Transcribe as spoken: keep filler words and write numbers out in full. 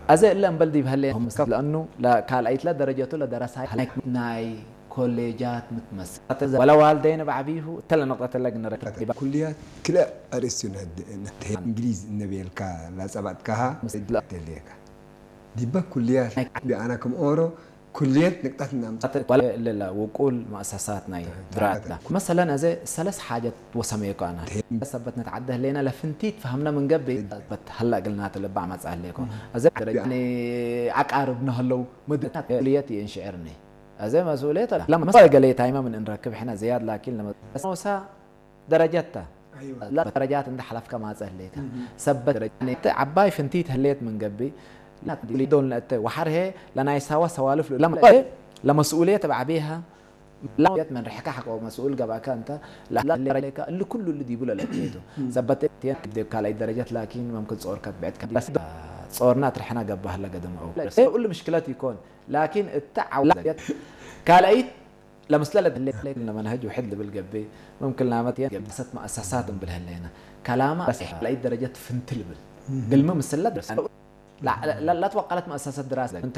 አዜ እለ እምበል ዲብ ሀሌ፣ ለእኑ ለካልአይት ለደረጀቱ ለደረሳይ ሀለክ ናይ ኮሌጃት ምትመሰል። ወለ ዋልደይነ በዐቢሁ እተ ለነቅጠት እለ ግንረክብ ዲበ። ኩልያት ክልኤ አርእስቱ ነህድ-፣ ነህድ-፣ እንግሊዝ እነ ቤልካ ለጸባጥካሃ ምስል ደሌካ። ዲበ ኩልያት ቢአና ክም ኦሮ ኩልየት ንቅጠት እናምጽእ። ወለ እለ ውቁል መአሰሳት ናይ ድራታ። መሰለን፣ አዜ ሰለስ ሓጀት ወሰሜኮ አነ። ሰበት ነትዓደ ህሌነ ለፍንቲት ፈሀምነ ምን ገብእ፣ ሰበት ሀለ እግልናተ ልባዕ መጽአ ህሌኮ። አዜ ደረጃ፣ ያኒ፣ አቃርብ ነህለው፣ ምድር፣ መስኡልየት ይእንሽዕርኒ። አዜ መስኡልየት ለመ-፣ መሰለ ገሌ ታይመ ምን እንረክብ ሕነ ዝያድ፣ ላኪን ለመ-፣ ሞሳ ደረጀት ተ። አይወ። ለደረጃት እንደ ሐለፍከ ማጸ ህሌከ። እህ። ሰበት ደረጃ፣ ተ ዐባይ ፍንቲት ህሌት ምን ገብእ፣ ዶል ነአተ ወሐር ህዬ ለናይ ሳዋ ሰዋልፍ ለመ-፣ ለመስኡልየት በዐቤሃ፣ ላየት ምን ርሕከ ሐቆ መስኡል ገብአከ እንተ፣ ለ-፣ ለሌከ እሊ ኩሉ እሊ ዲቡ ለለአቴቱ። እህ። ሰበት እቴን ዲብ ካልአይት ደረጀት ላኪን መምክን ጾር ከትብዕት ከ-፣ ጾርና ትርሕና ገባህ ለገደመው። እሊ ምሽክለት ይኮን፣ ላኪን እተ ዐውላ ካልአይት ለምስለ ለድሌ ለመንሀጅ ውሕድ ልብል ገብእ፣ መምክን ላመት የን ገብሰት መአሰሳት እምብል ህሌነ። ከላመ ለአይት ደረጀት ፍንት ልብል። እህ። ግልሚ ምስለ ድረስ ላ-፣ ላ-፣ ላትወቀለት መአሰሰት ድራሰ እንተ